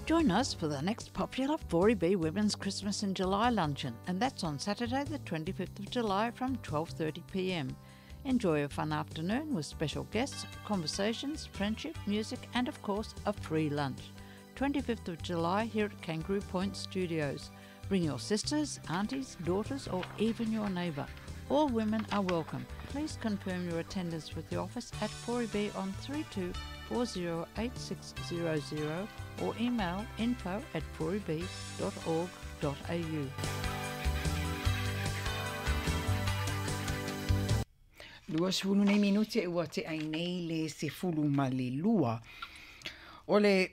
Join us for the next popular 4EB Women's Christmas in July luncheon, and that's on Saturday the 25th of July from 12:30 p.m. Enjoy a fun afternoon with special guests, conversations, friendship, music, and of course, a free lunch. 25th of July here at Kangaroo Point Studios. Bring your sisters, aunties, daughters, or even your neighbour. All women are welcome. Please confirm your attendance with the office at 4EB on 32 408600 or email info@4eb.org.au. 20 nei minute ua tea i nei le 12. O le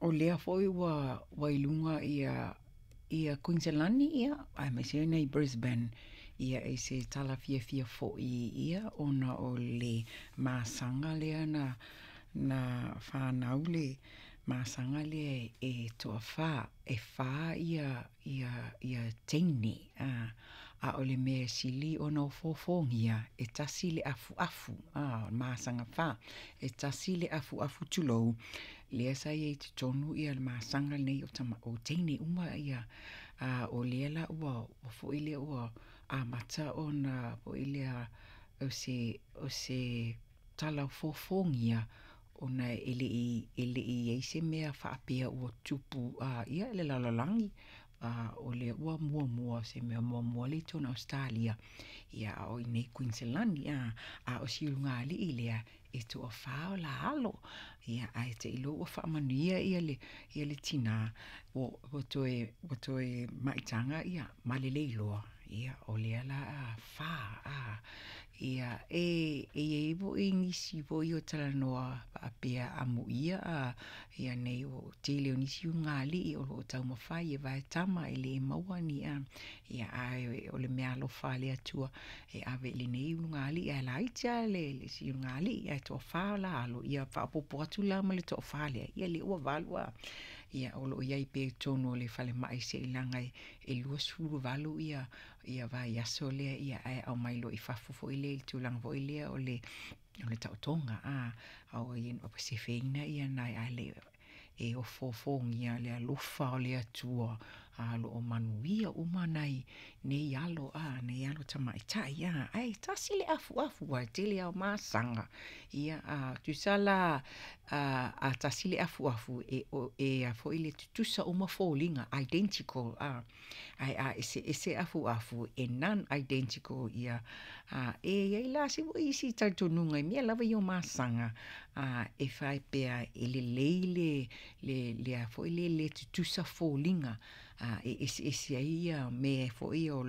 o lea foi ua i luga ia Kuiniselani ia aemaise ai i Brisbane ia i se tala fiafia foi ia ona o le masaga lea na fanau le masaga lea e toafā, e fā ia teine a o le mea sili ona ofoofogia e tasi le afuafu masaga fā, e tasi le afuafu tulou lea sa iai i totonu ia le masaga lenei o teine uma ia o lea la ua foi lea ua amata ona foi lea o se tala ofoofogia ona e lei iai se mea faapea ua tupu ia le lalolagi o lea ua muamua se mea muamua lea i totonu o Ausetalia ia a o i inei i Kuiniselani a o si ulugalii lea e toafā o la alo ia ae teiloa ua faamanuia ia le tinā ua toe maitaga ia ma lelei loa ia o lea la fā ia e iai foi nisi foi o talanoa faapea amuia ia nei o tele o nisi ulugalii o loo taumafai e vae tama e le maua ni ia ae o le mea alofa a le Atua e ave i lenei ulugalii ae laiti a le si ulugalii ae toafā o la alo ia faaopopo atu la ma le toafā lea ia lea ua valu ia o loo iai pea i totonu o le falemai seiloga e 28 ia vaiaso lea ia ae aumai loa i fafo foi lea i le tulaga foi lea o le taotoga a sefeina ia nai ae le e ofoofogia le alofa o le Atua o loo manuia uma nai nei alo nei alo tamaitai ae tasi le afuafu ae tele ao masaga ia tusa la a tasi le afuafu e a foi le tutusa uma foliga, identical ae a eseese afuafu e non identical ia e iai la se foi isi talitonuga i mea lava ia o masaga e faapea e lelei le a foi le le tutusa foliga e eseese ai ia mea foi o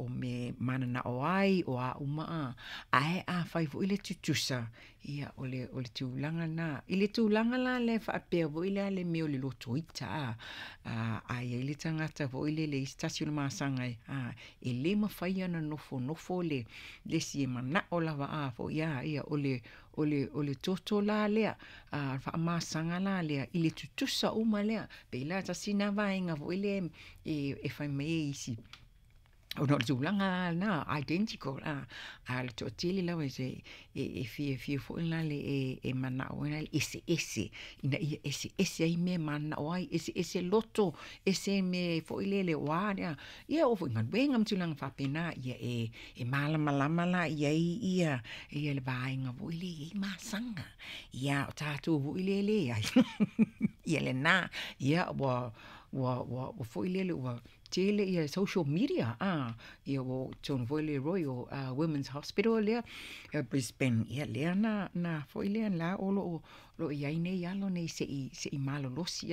me mananao ai o a uma ae afai foi le tutusa ia o le tulaga na i le tulaga la lea faapea foi lea le mea o le loto ita a iai le tagata foi lele i se tasi o le masaga e le mafai ona nofonofo le isi e manao lava a foi a ia o le toto la lea faamasaga la lea i le tutusa uma lea pei la tasi na vaega foi lea e fai mai ai isi ona o le tulaga na identical a le toatele lava e fiafia foi la le e manao ai le eseese ina ia eseese ai mea mananao ai, eseese loto, ese mea foi lele o a ia oo foi galuega ma tulaga faapena ia e malamalama la iai ia le vaega foi lea i ai masaga ia o tatou foi lea leai ia lena ia ua foi lele ua tele ia social media ia ua totonu foi le Royal Women's Hospital lea Brisbane ia lea na foi lea la o loo iai nei alo nei sei malolosi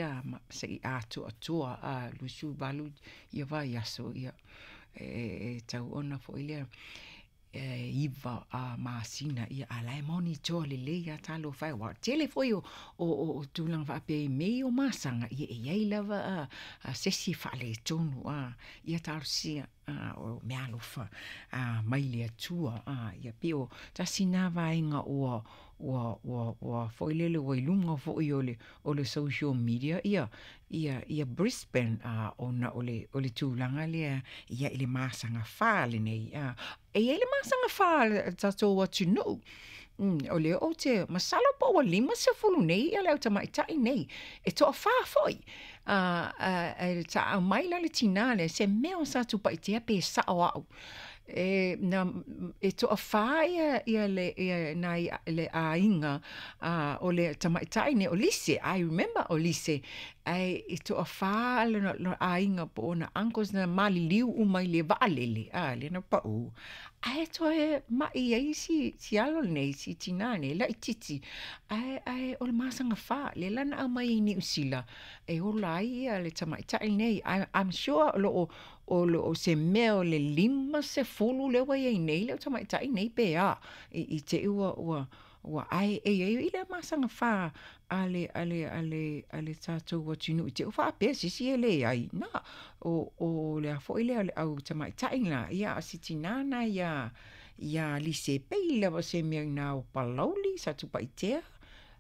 sei atoatoa 28 ia vaiaso ia e tau ona foi lea 9 masina ia a la e monitor lelei a talofa e ua tele foi o tulaga faapea i mea o masaga ia e iai lava se isi e faaletonu ia talosia o mea alofa mai le Atua ia pei o tasi na vaega ua foi lele ua i luga foi o le social media ia Brisbane ona o le tulaga lea ia i le masaga fā lenei e iai le masaga fā a le tatou atunuu. O lea ou te masalo po ua 50 nei ia le au tamaitai nei, e toafā foi. Ae sa aumai la le tinā lea, se mea o Satupaitea pe sao au. E, na, e toafā ia, ia le, ia nai, le aiga o le tamaitai nei, o Lise, I remember o Lise, ae e toafā lona aiga po o ona uncles na maliliu uma i le vaalele, a, lea na pau. Ae toe ma'i ai si, si alo lenei, si tinā nei, laitiiti, ae, ae o le masaga fā, lea la na aumai ai i Niu Sila e ola ai ia le tamaitai lenei. I, I'm sure o lo o, o lo o se mea o le 50 lea ua i ai nei le au tamaitai nei pe a, i, i te i ua, ua, ua ae e i ai i lea masaga fā a le, a le, a le, a le tatou atunuu i te i ua faapea se isi e leai. Na, o, o le a foi lea o le au tamaitai la, ia a o si tinā lena iā, iā Lise e pei lava o se mea i ina o Palauli, Satupaitea,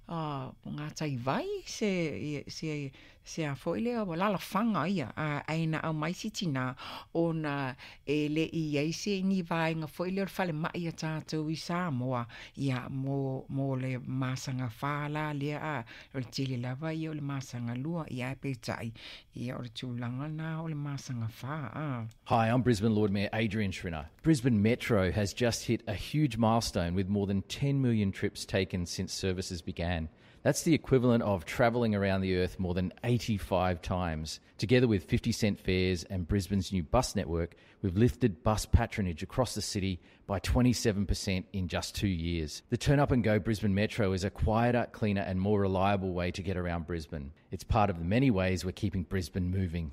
a, Gataivai, se, se, se a foi lea, ua alalafaga ia, a, ae na aumai si tinā, ona e le i i ai se ni vaega foi lea o le falemai a tatou i Samoa, ia, mo, mo le masaga fā la lea, a, o le tele lava ia o le masaga lua, ia ae peitai, ia o le tulaga lena o le masaga fā, a. Hi, I'm Brisbane Lord Mayor Adrian Schrinner. Brisbane Metro has just hit a huge milestone with more than 10 million trips taken since services began. That's the equivalent of travelling around the earth more than 85 times. Together with 50 cent fares and Brisbane's new bus network, we've lifted bus patronage across the city by 27% in just 2 years. The Turn Up and Go Brisbane Metro is a quieter, cleaner and more reliable way to get around Brisbane. It's part of the many ways we're keeping Brisbane moving.